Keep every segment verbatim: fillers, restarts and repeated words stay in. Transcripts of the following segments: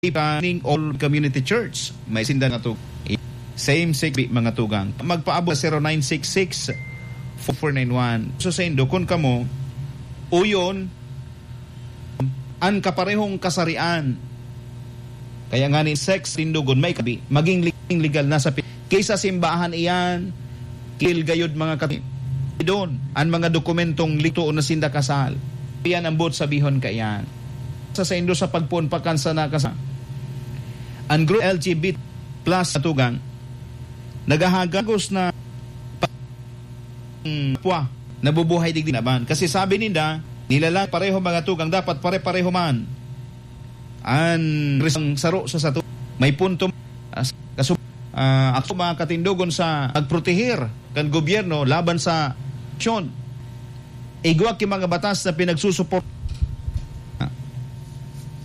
Planning All Community Church. May sinda nga tu-, same sex, mga tugang. Magpaabot sa zero nine six six, four four nine one. So, sa indo, kun kamo, uyon, an kaparehong kasarian. Kaya nga ni sex, tindugon, may kabi, maging li-, legal na sa pi-, kaysa simbahan iyan, kil gayod mga kati-, doon, an mga dokumentong lito na sinda kasal. Iyan ang buot sabihon kaiyan. Sa saindo sa pagpoon pa kan sana kasa-, an group L G B T plus na tugang, naghahagagos na pa-, hmm, pwa, nabubuhay digdi naman. Kasi sabi ninda, nilalang pareho mga tugang, dapat pare-pareho man. An risang saro sa sato, may punto, ah, kasu-, ah, ako mga katindogon sa pagprotehir kan gobyerno laban sa aksyon. Igwa ki mga batas na pinagsusuport-,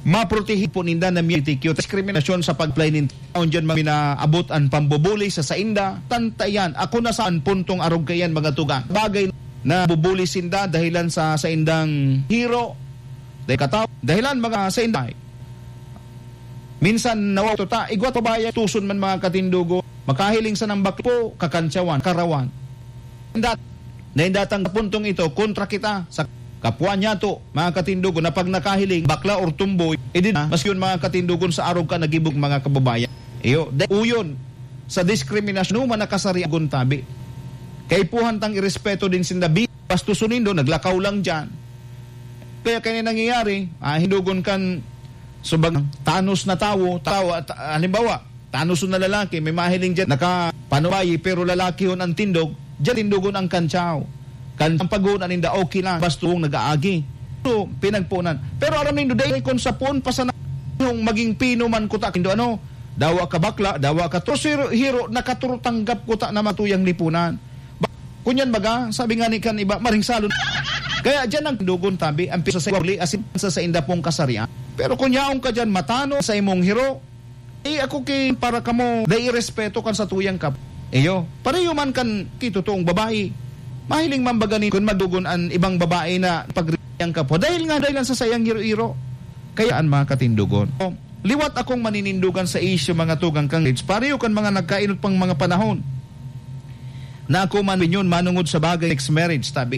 maprotehi po ninda na M L G B T Q diskriminasyon sa pag-apply nin taon dyan, mga minaabot an pambubuli sa sainda. Tanta yan. Ako na sa an puntong arog kaiyan, mga tugang. Bagay na bubuli sinda dahilan sa saindang hiro, dahil kataw-, dahilan mga sainda. Minsan, nawaw tuta, igwa pa ba yan, tuson man mga katindugo, makahiling sa nang bakpo, kakantsawan, karawan. Indat-, na indatang puntong ito, kontra kita sa kapwa niya to, mga katindugo, na pag nakahiling, bakla or tumboy, edi na, mas yun mga katindugon sa arog ka nagibog mga kababayan. Iyo, da-, uyon, sa diskriminasyon, man nakasari agon tabi. Kaipuhan tang irespeto din sinda, bi-, bastuson nindo, naglakaw lang dyan. Kaya kaya nangyayari, ah, hindugon kan, subag, tanos na tawo, tawo, at, ah, halimbawa, tanos na lalaki, may mahiling dyan, nakapanubayi, pero lalaki yun ang tindog, dyan tindugon ang kantsaw. Kan ang paghuon ninda, okay lang, basta kung nag-aagi. So, pinagpunan. Pero aram nindo, dahil kung sa puon pa sana yung maging pino man kuta, kindo ano, dawa ka bakla, dawa ka to, hiro, hiro, nakaturtanggap kuta na matuyang lipunan. Ba-, kunyan baga, sabi nga ni kan iba, maring salon. Kaya dyan ang dugon tabi, ang piso sa uli, asin sa sainda pong kasarian. Pero kung yaon ka dyan, matano sa imong hiro, eh, ako ki-, para kamo, dai respeto kan sa tuyang kap-, iyo. Pareho man kan ki totoong babae. Mahiling man baga ni kun madugon an ibang babae na pag-, yang kapwa. Dahil nga, dahil lang sa sayang hiro-hiro. Kaya an mga katindugon. O, liwat akong maninindugan sa isyu, mga tugang kang Reds. Pareho kan mga nagkainot pang mga panahon. Na ako man yun, manungod sa bagay, sex marriage, tabi.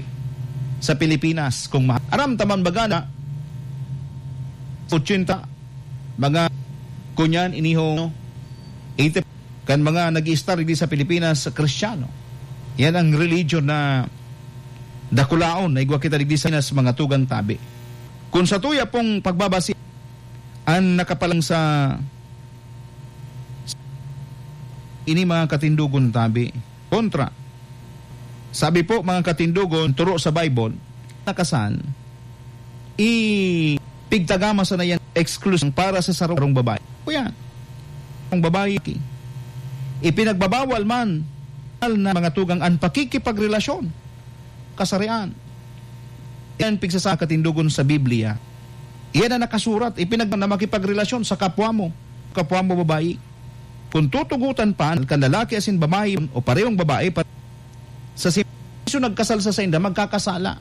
Sa Pilipinas, kung ma-, aram taman baga na, ochenta, mga kunyan, iniho, eighty, kan mga nag-i-star di sa Pilipinas, Kristiyano. Yan ang religion na dakulaon na igwa kita digdi sa Pinas, mga tugang tabi. Kung sa tuya pong pagbabasi, an nakapalang sa ini mga katindugon tabi, kontra. Sabi po, mga katindugon, turo sa Bible, nakasan, i-, pigtagama sana yan exclusive para sa sarong babae. O yan, ang babae, ipinagbabawal man na mga tugang an pakikipagrelasyon, kasarian. Yan pigsasakatindugon sa Biblia. Iyan ang nakasurat, ipinag-, na makipagrelasyon sa kapwa mo, kapwa mo babae. Kung tutugutan pa, kan lalaki asin babae o parehong babae pa, sa sim-, so nagkasal sa sainda, magkakasala.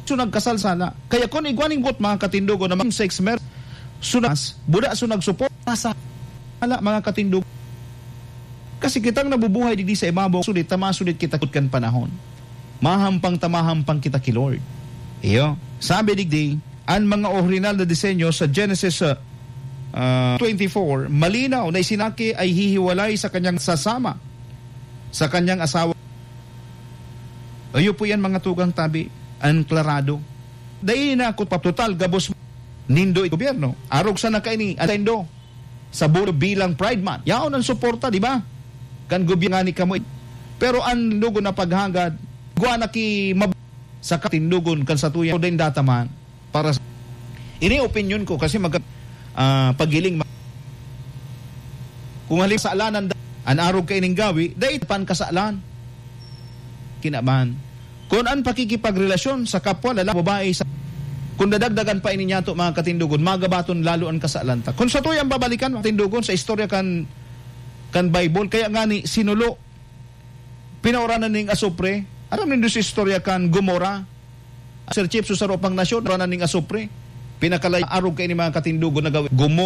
So nagkasal sala. Kaya kung igwa ning buot, mga katindugon, na mga sex mer-, sunas, buda so nagsuporta sa ala, mga katindugon. Kasi kitang nabubuhay digdi sa ibabaw, sulit ta masulit kita kan panahon. Mahampang ta mahampang kita ki Lord. Iyo. Sabi digdi, an mga orihinal na disenyo sa Genesis, ah, ah, twenty-four, malinaw na isinaki ay hihiwalay sa kanyang sasama, sa kanyang asawa. Ayo po yan, mga tugang tabi, ang klarado. Dai na ako patotal gabos nindo gobyerno. Arog sana kaini, atendo. Sa bulo bilang Pride Month. Yaon ang suporta, di ba? Kan gobyerno ni kamo. Pero ang lugo na paghagad, gwa na ki mab-, sa katindugon kan sa tuya, din data man. Para sa, ini opinyon ko kasi mag-, ah, paghiling ma-, kung halim kasalanan da-, an arog kaining gawi, dai pan kasalan. Kinaban. Kun an pakikipagrelasyon sa kapwa, lalaki, babae, sa, kun dadagdagan pa ini niyato, mga katindugon, magabaton lalo an kasalan ta. Kun sa tuyang babalikan, mga katindugon, sa istorya kan, kan Bible, kaya nga ni sinulo, pinauranan ning asupre. Aram nindo sa istorya kan Gomora? Sir Chief, sa saro pang nasyon, pinauranan ning asupre. Pinakalay arog kay ni mga katindogon na gawin. Gumo